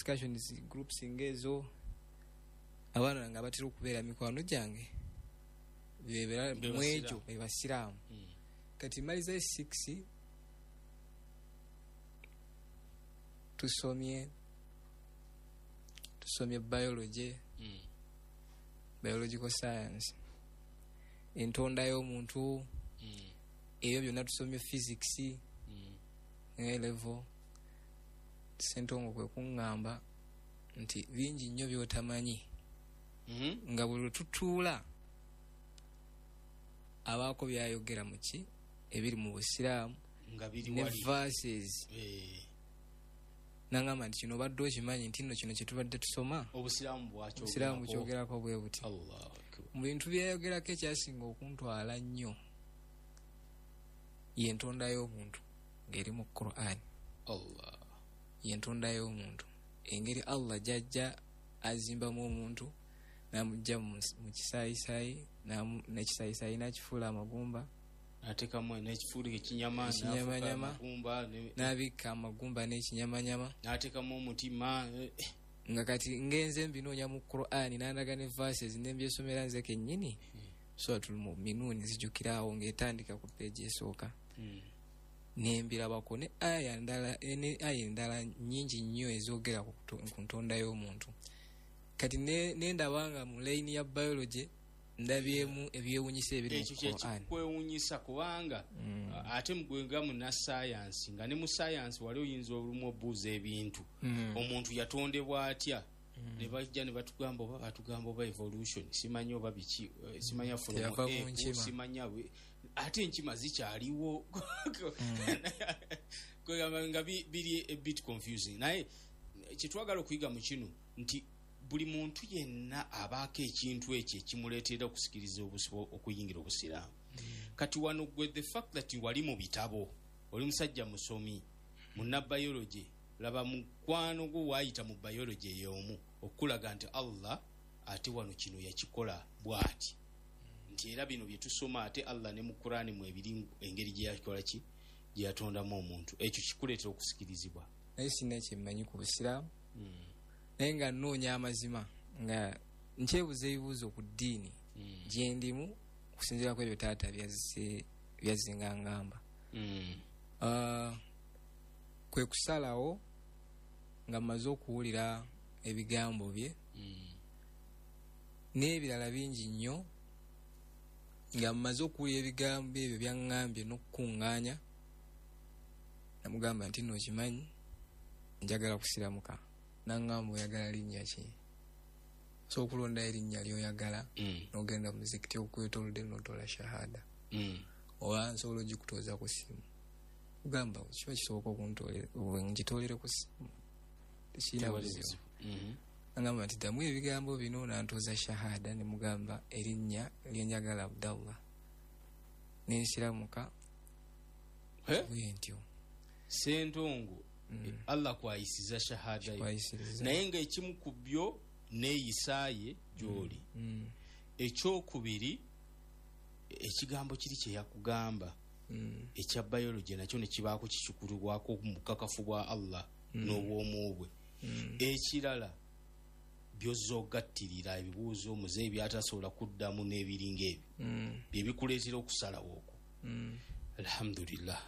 Discussions groups ng'ezo, abaana nga batera okubeera mikwano gyange bebeera Be mu ekyo basiraamu. Be basiraamu. Kati maliza 6, tusomye biology, biological science, entonda y'omuntu, ebyo byonna tusomye physics, A level. Sentongo kwe kuŋŋamba nti bingi nnyo by'otamanyi, nga buli lwe tutuula abaako byayogera mu ki ebiri mu busiraamu nga biri ne wali. Verses. Nangamba nti kino obadde okimanyi nti nno kino kye tubadde tusoma, obusiraamu bwakyogerako. Obusiraamu bukyogerako bwe buti. Allahu Akbar. Mu bintu byeyayogerako, ekyasinga okuntwala nnyo yentonda y'omuntu ng'eri mu Quran. Allah. Yentonda y'omuntu, engeri Allah gyajja azimbamu omuntu n'amugja mu kisaayisaayi, n'ekisaayisayi n'akifuula amagumba, atekamu n'ekifuulika ekinyama, ekinyamanyama, n'afuuka amagumba n'abikka amagumba n'ekinyamanyama, n'ateekamu omutima. Nga kati ngenze mbinoonya mu Quran, n'andaga ne verses nembyesomera nze kennyini. Suratul Muminuun, nzijukiraawo ng'etandika ku peegi esooka, nembirabako ne aya ndala, ne aya endala nnyingi nnyo ezoogera ku ntonda y'omuntu. Kati nendaba nga mu layini ya biology ndabyemu ebyewunyisa ebiri mu Ekyo Quran. Kyekikwewunyisa kubanga ate gwe nga munnasayansi, nga ne mu sayansi wali oyinza olumu obuuza ebintu, omuntu yatondebwa atya, ne bajja ne batugamba, oba batugamba oba evolution, simanyi oba biki, simanya from Teyava mu ape, nkima. Simanya ate enkima zikyaliwo. Kwegamba nga biri a bit confusing, naye kyetwagala okuyiga mu kino nti buli muntu yenna abaako ekintu ekyo ekimuleetera okusikiriza okuyingira obusiraamu. Kati wano gwe, the fact that wali mu bitabo, oli musajja musomi, munna biology, laba mukwano gwo waayita mu biology ey'omu okulaga nti Allah ate wano kino yakikola bw'ati, nti era bino bye tusoma ate Allah ne mu Kurani mwebiri, engeri gye yakola ki, gye yatondamu omuntu, ekyo kikuleetera okusikirizibwa. Naye sirina kyemmanyi ku busiraamu, naye nga nnoonya amazima, nga nkyebuuza ebibuuzo ku ddiini gyendimu okusinziira ku ebyo taata byazze nga ngamba. Kwe kusalawo nga mmaze okuwulira ebigambo bye n'ebirala bingi nnyo, nga mmaze okuwulira ebigambo ebyo byaŋŋambye n'okukuŋŋaanya, namugamba nti nno okimanyi njagala kusiramuka. Naŋŋamba, oyagala linnya ki? Osobola okulondayo erinnya ly'oyagala, n'ogenda mu muzikiti okwetoolodde n'otoola shahada, oba nsobola ogikutooza ku ssimu. Kugamba kiba kisoboka ngitoolere ku ssimu, tekirina Tewali buzibu. buzibu. Agamba nti ddamu ebigambo bino, nantooza shahada, ne mugamba erinnya lyenjagala, Abdallah, nensiramuka. Eh? Bwe ntyo. Sentongo, Allah kwayisiza shahada yo, kwayisiriza. Naye ng'ekimu ku byo neeyisaaye gy'oli. Ekyokubiri, ekigambo kiri kye yakugamba ekya biology nakyo ne kibaako kikikulibwako mu bukakafu bwa Allah n'obwomu bwe. Ekirala, byozza ogattirira ebibuuzo muzeeyi byatasobola kuddamu n'ebiringa ebyo, bye bikuleetera okusalawo okwo. Alhamdulillah.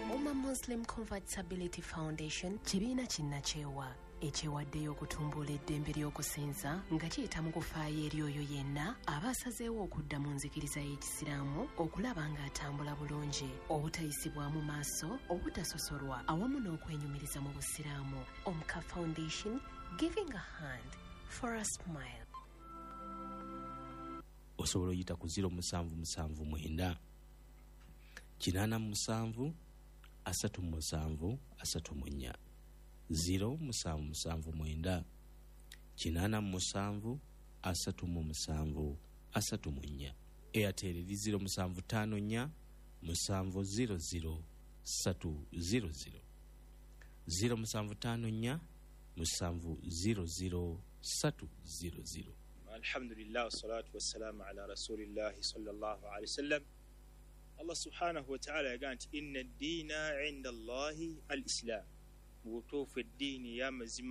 Umma Muslim Convertibility Foundation kibiina kinnakyewa ekyewaddeyo okutumbula eddembe ly'okusinza nga kiyita mu kufaayo eri oyo yenna aba asazeewo okudda mu nzikiriza y'Ekisiraamu, okulaba ng'atambula bulungi, obutayisibwamu maaso, obutasosolwa awamu n'okwenyumiriza mu busiraamu. Omka Foundation, giving a hand for a smile. Osobola oyita ku 0779 87 37 34, 0779 87 37 34. Airtel eri 0754 700 300, 0754 700 300. Alhamdulillah, wassalatu wassalamu ala rasulillahi sallallahu alaihi wasallam. Allah subhanahu wataala yagaa nti inna ddiina inda Allahi al islam, mu butuufu eddiini ey'amazima.